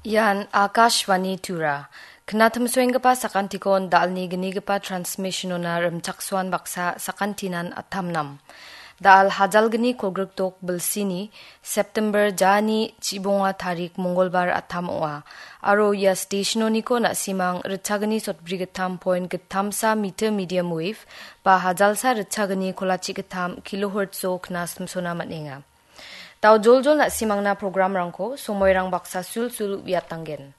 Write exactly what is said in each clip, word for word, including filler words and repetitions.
Ian Akashvani Tura. Knatimsoenggipa sakantikon dalni gnigipa transmissionona rimchaksoan baksa sakantinan atamnam. Dal hajalgni kolgrikdok bilsini September jani chibonga tarik Mongolbar atam ong·a. Aro ia stationoniko na·simang ritchagni sotbrigittam point gittamsa meter medium wave ba hajalsa ritchagni kolachi gittam kilohertso knasimsona man·enga. Dao joljol na·simangna programrangko somoirang baksa sulsul uiatanggen.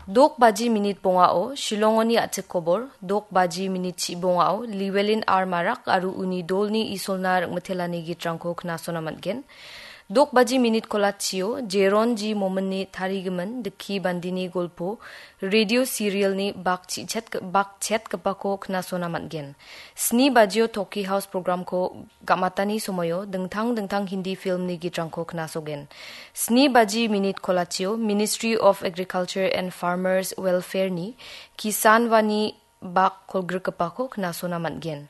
Dok baji minit bongao Shillongoni a·chik kobor, dok baji minit chi bongao Llewellyn R Marak aro uni dolni isolna ringmitelani gitrangko knasona man·gen. Dok baji minit kolachio Jeron G Mominni tarigimin Dikki Bandini golpo radio serialni bak chichet-, bak chetgipako knasona man·gen. Sni bajio Toki House programko ga·matani somoio dingtang dingtang Hindi filmni gitrangko knasogen. Sni baji minit kolachio Ministry of Agriculture and Farmers Welfare-ni Kisan Vani bak kolgrikgipako knasona man·gen.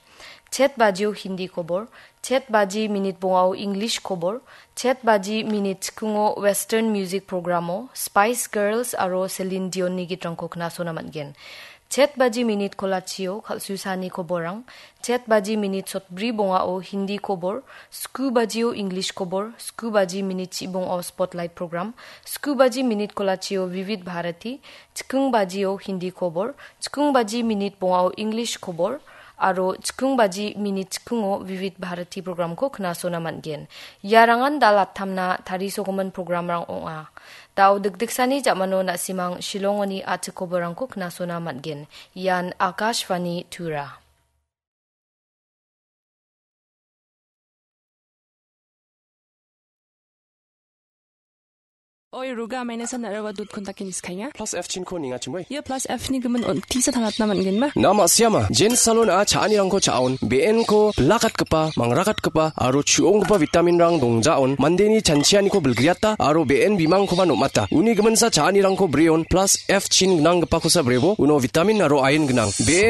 Chet bajio Hindi kobor, chet baji minit bongao English kobor, chet baji minit chikungo Western music programo Spice Girls aro Celine Dion-ni gitrangko knasona man·gen. Chet baji minit kolachio kal·susani koborrang, chet baji minit sotbri bongao Hindi kobor, sku bajio English kobor, sku baji minit chibongao Spotlight program, sku baji minit kolachio Vivid Bharati, chikung bajio Hindi kobor, chikung baji minit bongao English kobor, aro chikung baji minit chikungo Vivid Bharati programko knasona man·gen. Iarangan dal attamna tarisogimin programrang ong·a. Dao dikdiksani jamano na·simang Shillongoni a·chik koborrangko knasona man·gen. Ian Akashvani Tura. Oi, Ruga, maina san narawa dot kontak inis kainga. Plus F chin ko ninga chimoi. Ia plus F ni gimin on tisa tangatna man·genba? Na ma siama, Jen Salon a cha·anirangko cha·on, B N ko bilakatgipa, mangrakatgipa, aro chu·onggipa vitamin rang dongjaon, mandeni chanchianiko bilgriata, aro B N bimangkoba nom·ata. Uni giminsa cha·anirangko breon, plus F chin gnanggipakosa brebo, uno vitamin aro iron gnang. B N